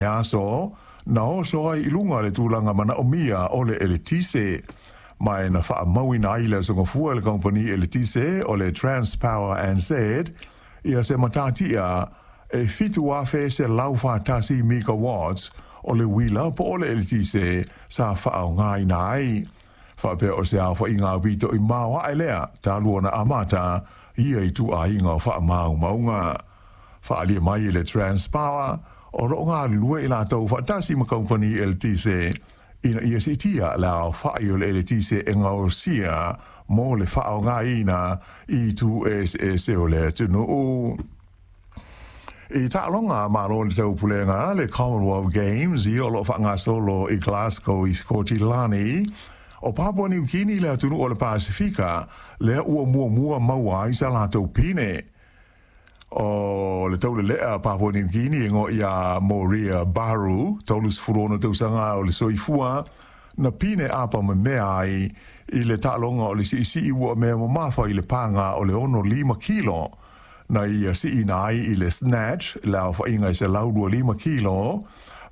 Aso na oso ai i luga le tulaga manaʻomia o le eletise, ma e na faamauina ai le aso gafua e le kamupani eletise o le Transpower NZ ia se matatia e 7,141 megawatts o le uila po o le eletise sa faaaogaina ai, faapea o se aofaiga aupito i maoaʻe lea talu ona amata ia ituaiga o faamaumauga. Faaalia mai e le Transpower, o loo galulue i latou faatasi ma kamupani eletise ina ia siitia le aofai o le eletise e gaosia mo le faaaogaina i itu eseese o le atunuu. I taaloga a Malo o le Taupulega, le Commonwealth Games, ia o loo faagasolo i Glasgow i Sikotilani, o Papua Niu Kini le atunuu o le Pasefika lea ua muamua maua ai sa latou pine. O le taulelea Papua Niu Kini e igoa ia Moria Baru, 36 tausaga o le soifua, na pine apa memea ai i le taaloga o le siisii uamea mamafa i le paga o le 65 kilo, na ia siina ai i le snatch le aofaiga e 125 kilo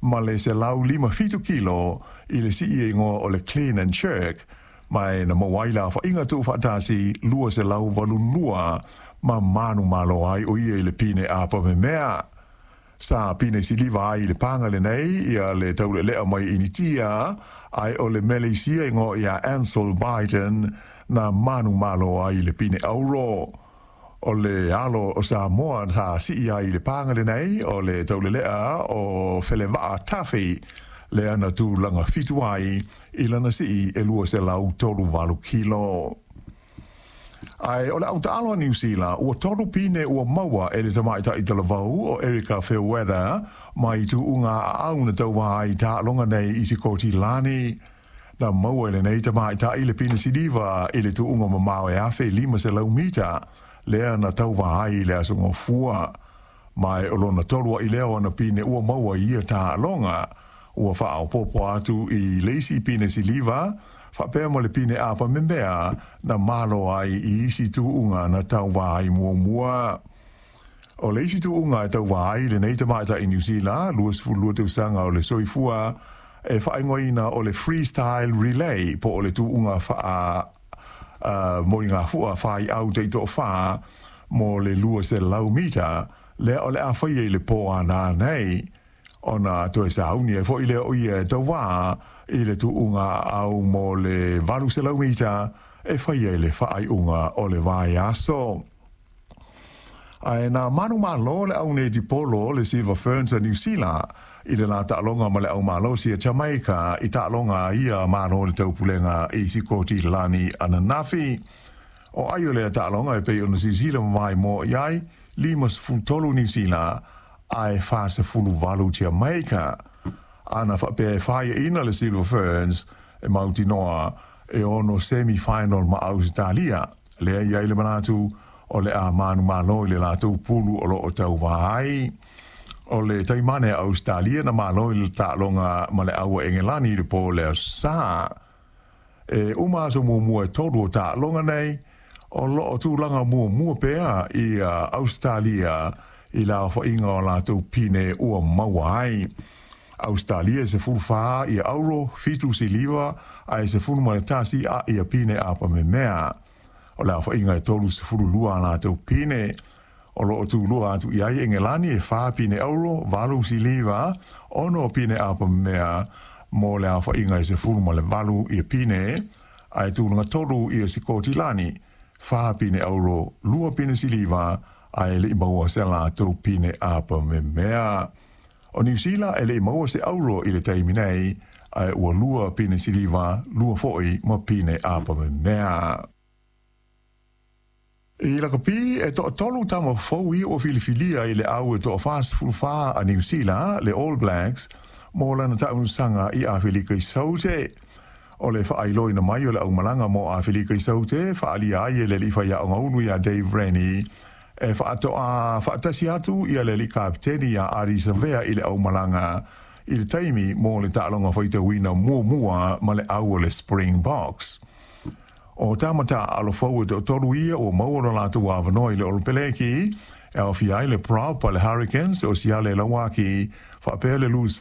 ma le 157 kilo i le sii e igoa o le clean and jerk, ma e na maua ai le aofaiga tuufaatasi 282 ma manumalo ai o ia i le pine apa memea. Sa pine siliva ai i le paga lenei ia le taulelea mai Initia, ae o le Meleisia e igoa ia Ansel Biden na manumalo ai i le pine auro. O le alo o Samoa sa sii ai i le paga lenei o le taulelea o Felevaa Tafi, lea na tulaga fitu ai i lana sii e 238 kilo. Ae o le autaalo a Niu Sila, ua tolu pine ua maua e le tamaitai talavou o Erika Fairweather mai tuuga aau na tauva ai i taaloga nei i Sikotilani. Na maua e lenei tamaitai le pine siliva i le tuuga mamao e 1500 mita, lea na tauva ai i le aso Gafua. Ma e o lona tolu ai lea o ana pine ua maua i ia taaloga, ua faaopoopo atu i le isi pine siliva, faapea ma le pine apa memea na malo ai i isi tuuga na tauva ai muamua. O le isi tuuga e tauva ai lenei tamaitai Niu Sila, 22 tausaga o le soifua, e faaigoaina o le freestyle relay po o le tuuga faa moligafua faiau taitoafa mo le 200 mita, lea o le a faia i le po a nanei, ona toe sauni ai foi lea o ia e tauva i le tuuga aau mo le 800 mita e faia i le faaiuga o le vaiaso. Ae na manumalo le au netipolo le Silver Ferns a Niu Sila i le la taaloga ma le au malosi a Jamaica i taaloga a ia Malo o le Taupulega i Sikotilani ananafi. O ai o lea taaloga e pei ona silasila mamaimoa i ai, 53 Niu Sila ae 48 Jamaica. Ana faapea e faiaina le Silver Ferns e mautinoa e ono semi-final ma Ausetalia, lea e i ai le manatu o le a manumalo i le latou pulu o lo o tauva ai. O le taimane a Ausetalia na malo i le taaloga ma le au a Engelani i le po o le Aso Sa. E uma aso muamua e tolu o taaloga nei, o lo o tulaga muamua pea i Ausetalia i le aofaiga o latou pine ua maua ai. Ausetalia e 14 ia auro, 7 siliva, ae 11 a ia pine apamemea. O le aofaiga e 32 a latou pine. O lo o tulua atu i ai Engelani e 4 pine auro, 8 siliva, 6 pine apamemea mo le aofaiga e 18 ia pine, ae tulaga tolu ia Sikotilani, 4 pine auro, 2 pine siliva, ae le i maua se latou pine apamemea. O Niu Sila e le i maua se auro i le taimi nei, ae ua 2 pine siliva, 2 foi ma pine apamemea. I lakapi e toatolu tama fou ia ua filifilia i le au e toa 44 a Niu Sila, le All Blacks, mo lana taamilosaga i Afelika i Saute. O le faailoaina mai o le aumalaga mo Afelika i Saute, faaalia ai e le alii faiaoga ulu iā Dave Rennie, e faatoa faatasi atu ia le alii kapeteni iā Ardie Savea i le aumalaga i le taimi mo le taaloga faitauina muamua ma le au o le Springboks. O tama taaalo fou e toatolu ia ua maua lo latou avanoa i le Olopeleki, e aofia ai le prop a le Hurricanes o Siale Lauaki, faapea le loose